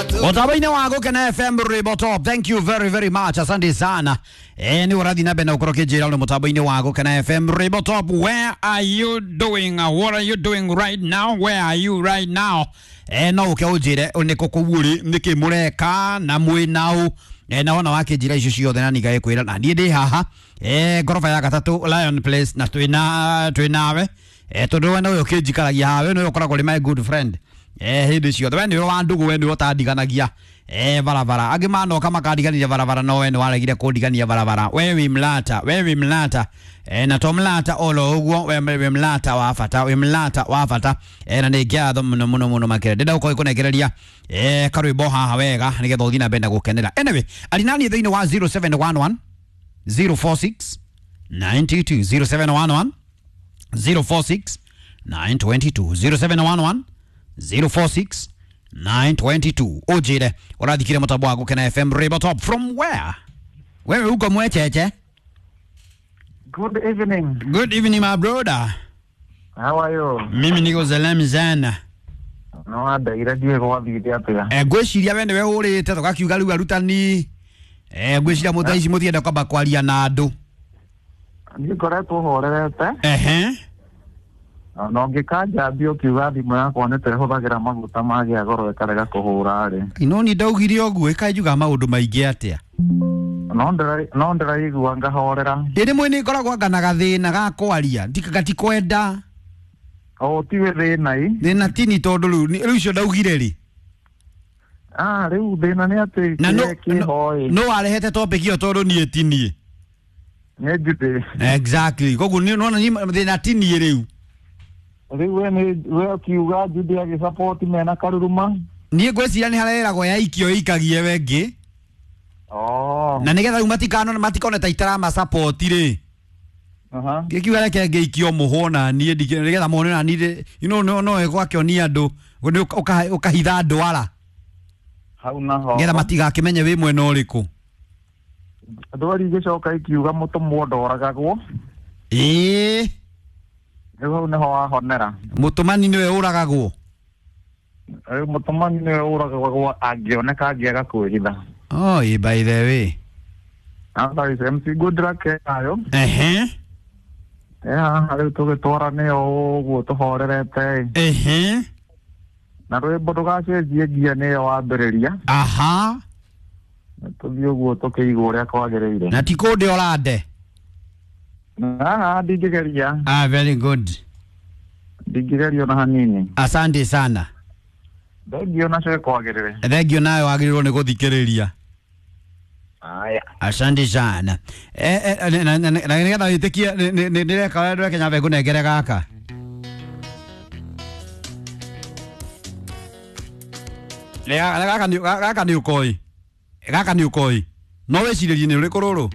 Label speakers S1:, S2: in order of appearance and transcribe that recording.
S1: Otabaine wa Gukena FM Rwimbo Top. Thank you very very much. Asante sana. Ni urathi na mbere na ukorwo kinjira uri mutambo-ini wa Gukena FM Rwimbo Top. Where are you doing? What are you doing right now? Where are you right now? No uke unjire ni kũ kũu ũrĩ, nĩkĩ mũreka na mwĩ naũ. Na wona wakĩnjĩra icio ciothe na ningagĩkwĩra na niĩ ndĩ haha ngoroba ya gatatũ Lion Place na twĩ nawe tondũ we nowe ũkĩnjikaragia haha, we nowe ũkoragwo ũrĩ my good friend hĩndĩ ciothe, we nĩwe wa ndũgũ, we nĩwe ũtandiganagia barabara. Angĩ manoka makandigania barabara, no we nĩ waregire kũndigania barabara. We wĩ mlata, we wĩ mlata na to mlata olo ũguo, we wĩ mlata wa bata, wĩ mlata wa bata na nĩ ngatho mũno mũno mũno makĩria. Ndĩrenda gũkorwo ngĩkũnengereria karwĩmbo haha wega nĩgetha ũthiĩ na mbere na gũkenera. Anyway, arinani thĩinĩ wa 0711 046 922 0711 046 922 0711 046 922. Ujire urathikire mutambo wa Gukena FM Rwimbo Top from where? Wewe uko Mwecheche?
S2: Good evening.
S1: Good evening my brother.
S2: How are you?
S1: Mimi niko salama sana.
S2: No wandeire ndiũĩ gwathire atĩa.
S1: Ngwĩciria we nĩwe ũrĩte tũgakiuga rĩu arutani ngwĩciria mũthaa ici mũtienda kwamba kwaria na andũ.
S2: Niĩ ngoretwo horerete
S1: Ehe.
S2: na ũngĩkanjambia ũkiuga thimũ yakwa nĩ ta ĩhũthagĩra maguta magĩa goro ĩkarega kũhũra rĩ.
S1: No ni ndaugire ũguo ĩkanjuga maũndũ maingĩ atĩa.
S2: No ndĩraigua ngahorera.
S1: Ĩ rĩmwe nĩ ngoragwo anga na gathĩna ga kwaria gatikwenda.
S2: O tiwe thĩna i.
S1: Thĩna tini tondũ rĩu icio ndaugire rĩ.
S2: Ah, rĩu thĩna nĩ atĩ
S1: Na
S2: kĩrĩa kĩho ĩ.
S1: no warehete topic ĩyo tondũ niĩ ti niĩ.
S2: Nĩ Judy.
S1: Exactly. Koguo nĩ nona niĩ thĩna ti niĩ rĩu.
S2: Rĩu we nĩ we ũkiuga Judy agĩsupport mena karuruma.
S1: Niĩ ngwĩciria nĩ hareragwo yaikio ĩikagie we ngĩ.
S2: Oh.
S1: Na nĩgetha rĩu matikanone matikone ta itarama-support rĩ.
S2: Aha.
S1: Ngĩkiuga reke ngĩikio mũhwo na niĩ nĩgetha mone na niĩ you know no no ĩgwakĩonia andũ nĩ ũkahitha ndwara.
S2: Hau naho.
S1: Nĩgetha matigakĩmenye wĩ mwena ũrĩkũ.
S2: Ndwari igĩcoka ikiuga mũtũmwo ndoragagwo.
S1: Ĩĩ.
S2: Rĩu hau nĩho wahonera.
S1: Mũtũmani nĩwe ũragagwo.
S2: Rĩu mũtũmani nĩwe ũragagwo angĩoneka angĩaga kwĩhitha.
S1: Oh, ĩ by the way.
S2: Otherwise, MC Good Luck nayo.
S1: Ehe.
S2: Haha rĩu tũgĩtwarane o ũguo tũhorerete.
S1: Ehe.
S2: Na rwĩmbo ndũgacenjie ngia nĩyo wambĩrĩria.
S1: Aha.
S2: Tũthiĩ ũguo tũkĩigua ũrĩa kwagĩrĩire.
S1: Na ti kũndĩ ũrande.
S2: Haha ndingĩgeria.
S1: Ah, very good.
S2: Ndingĩgeria ona hanini.
S1: Asante sana.
S2: Thengiũ nacio kwagĩrĩre.
S1: Thengiũ nawe wagĩrĩirwo nĩ gũthikĩrĩria.
S2: Aya.
S1: Asante sana. Na nĩgetha wĩtĩkie nĩndĩreka ũrĩa ndĩreka nyambe ngũnengere gaka. Gaka nĩ ũkoĩ. Gaka nĩ ũkoĩ. No wĩcirĩrie nĩ ũrĩkũ rũrũ?